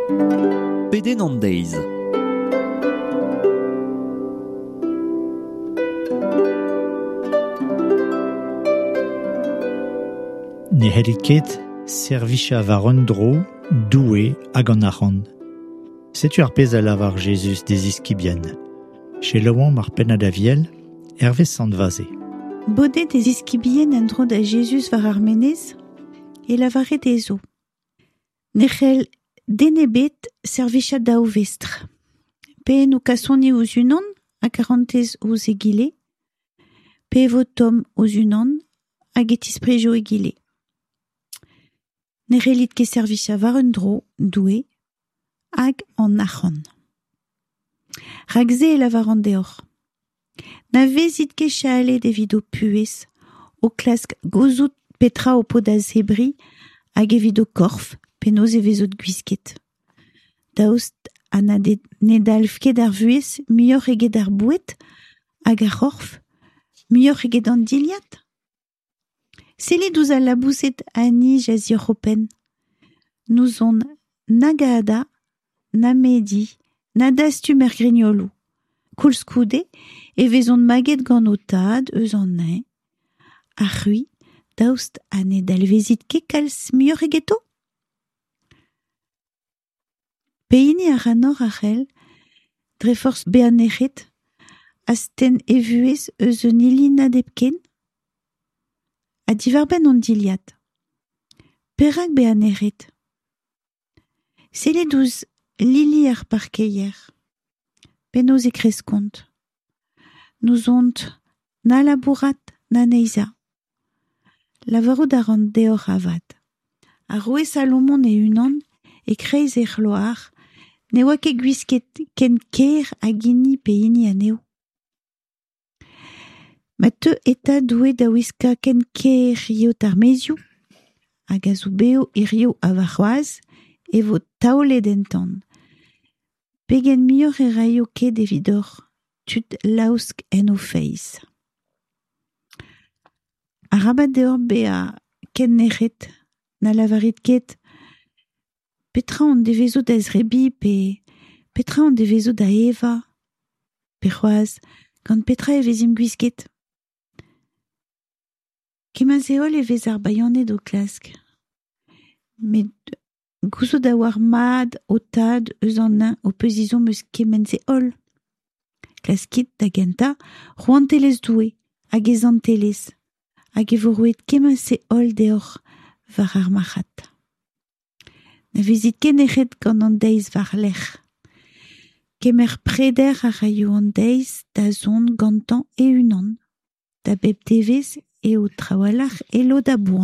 Pedenn an deiz. Ne c'hellit ket servijañ war un dro Doue hag an arc'hant. Setu ar pezh a lavar Jezuz d'e ziskibien. Selaouomp ar pennad Aviel, hervez Sant Vaze. Bodet e ziskibien en-dro da Jezuz war ar menez, e lavare dezho. Ne c'hell den ebet servijañ daou vestr. Pe en ho kasoni ouzh unan ha karantez ouzh egile, pe e vo tomm ouzh unan hag e tisprijo egile. Ne c'hellit ket servijañ war un dro Doue hag an arc'hant. Rak-se e lavaran deoc'h. Na vezit ket chalet evit ho puhez, o klask gouzout petra ho po da zebriñ hag evit ho korf penaos e vezot gwisket. Daoust ha na ne dalv ket ar vuhez muioc'h eget ar boued hag ar c'horf, muioc'h eget an dilhad? Sellit ouzh al laboused a nij a-zioc'h ho penn. N'ouzon nag hadañ, na mediñ, na dastum er grignoloù. Koulskoude e vezont maget gant ho tad eus an neñv. Ha c'hwi, daoust ha ne dalvezit ket kalz muioc'h egeto? Pehini ac'hanoc'h a c'hell, dre forzh bezañ nec'het, astenn e vuhez eus un ilinad hepken? Ha diwar-benn an dilhad, perak bezañ nec'het? Sellit ouzh lili ar parkeier, penaos e kreskont. N'ouzont na labourat na neizhañ. Lavarout a ran deoc'h avat, ar roue Salomon e-unan, e-kreiz e c'hloar, ne oa ket gwisket ken ker hag hini pe hini anezho. Ma teu eta Doue da wiskañ ken ker yeot ar maezioù, hag a zo bev hiziv ha warc'hoazh, e vo taolet en tan. Pegen muioc'h e raio ket evidoc'h, tud laosk en o feiz. Arabat deoc'h bezañ ken nec'het, na lavarit ket petra hon devezo da zebriñ pe petra hon devezo da evañ, pe c'hoazh gant petra e vezimp gwisket. Kement-se holl e vez ar bayaned o klask. Met gouzout a oar mat ho tad eus an neñv ho peus ezhomm eus kement-se holl. Klaskit da gentañ rouantelezh Doue hag e zantelezh, hag e vo roet kement-se holl deoc'h war ar marc'had. Na vezit ket nec'het gant an deiz war-lerc'h. Kemer preder a raio an deiz da zont gantañ e-unan. Da bep devezh eo trawalc'h e lod a boan.